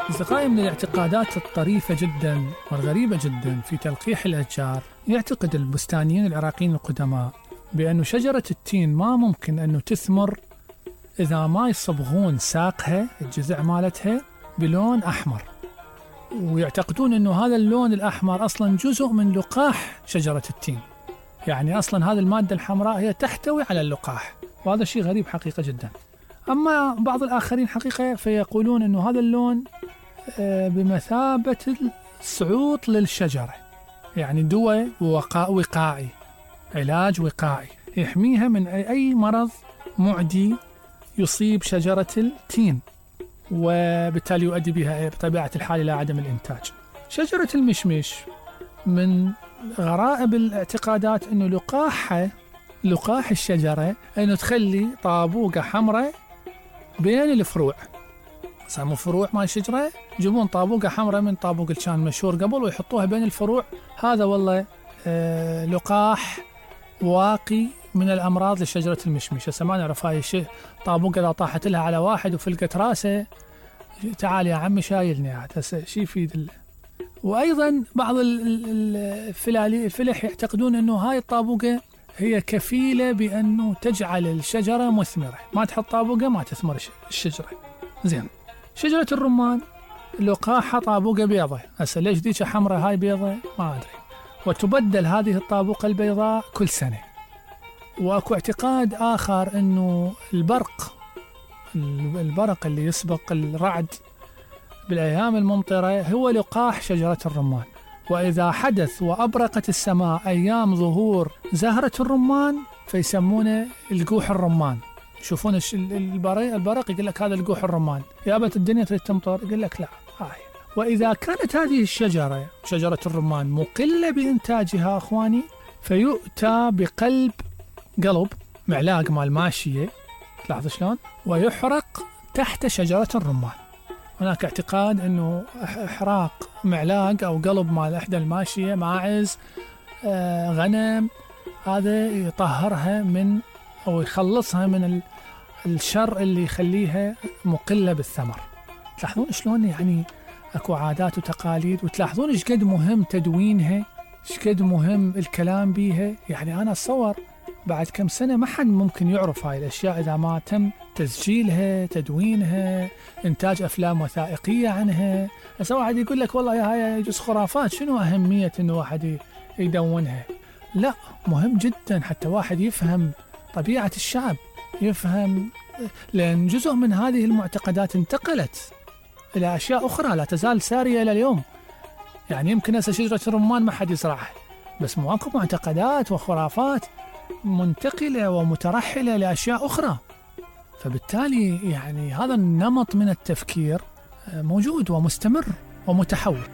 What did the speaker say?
أصدقائي، من الاعتقادات الطريفة جدا والغريبة جدا في تلقيح الأشجار، يعتقد البستانيين العراقيين القدماء بأن شجرة التين ما ممكن أنه تثمر إذا ما يصبغون ساقها، الجذع مالتها، بلون أحمر. ويعتقدون أنه هذا اللون الأحمر أصلا جزء من لقاح شجرة التين، يعني أصلا هذه المادة الحمراء هي تحتوي على اللقاح، وهذا شيء غريب حقيقة جدا. أما بعض الآخرين حقيقة فيقولون أنه هذا اللون بمثابة الصعوط للشجرة، يعني دواء وقائي، علاج وقائي يحميها من أي مرض معدي يصيب شجرة التين، وبالتالي يؤدي بها بطبيعة الحال إلى عدم الإنتاج. شجرة المشمش من غرائب الاعتقادات أنه لقاح الشجرة أنه تخلي طابوقة حمراء بين الفروع. سامو فروع مال الشجرة يجيبون طابوقة حمراء من طابوق اللي كان مشهور قبل ويحطوها بين الفروع، هذا والله لقاح واقي من الأمراض لشجرة المشمش. هسه ما نعرف هاي الشيء، طابوقة إذا طاحت لها على واحد وفلقت راسه، تعال يا عمي شايلني عاد، هسه شي يفيد وأيضا بعض الفلح يعتقدون أنه هاي الطابوقة هي كفيلة بأنه تجعل الشجرة مثمرة، ما تحط طابوقة ما تثمر الشجرة. زين، شجرة الرمان لقاحها طابوقة بيضة، هسه ليش ديك حمراء هاي بيضة ما أدري، وتبدل هذه الطابوقة البيضاء كل سنة. وأكو اعتقاد آخر أنه البرق اللي يسبق الرعد بالأيام الممطرة هو لقاح شجرة الرمان، وإذا حدث وأبرقت السماء أيام ظهور زهرة الرمان فيسمونه القوح الرمان. يشوفون البرق يقول لك هذا القوح الرمان، يابت الدنيا تريد تمطر يقول لك لا هاي. وإذا كانت هذه الشجرة شجرة الرمان مقلة بإنتاجها أخواني، فيؤتى بقلب معلاق مال ماشية، تلاحظ شلون، ويحرق تحت شجرة الرمان. هناك اعتقاد أنه إحراق معلاق أو قلب مال إحدى الماشية، ماعز، غنم، هذا يطهرها من أو يخلصها من الشر اللي يخليها مقلة بالثمر. تلاحظون شلون يعني أكو عادات وتقاليد، وتلاحظون إيش قد مهم تدوينها، إيش قد مهم الكلام بيها. يعني أنا أتصور بعد كم سنة ما حد ممكن يعرف هاي الأشياء إذا ما تم تسجيلها، تدوينها، إنتاج أفلام وثائقية عنها. هسه واحد يقول لك والله هاي يجوز خرافات، شنو أهمية إنه واحد يدونها؟ لا، مهم جدا حتى واحد يفهم طبيعة الشعب، يفهم، لأن جزء من هذه المعتقدات انتقلت إلى أشياء أخرى لا تزال سارية إلى اليوم. يعني يمكن هسه شجرة الرمان ما حد يزرعها، بس ماكو معتقدات وخرافات منتقلة ومترحلة لأشياء أخرى. فبالتالي يعني هذا النمط من التفكير موجود ومستمر ومتحول.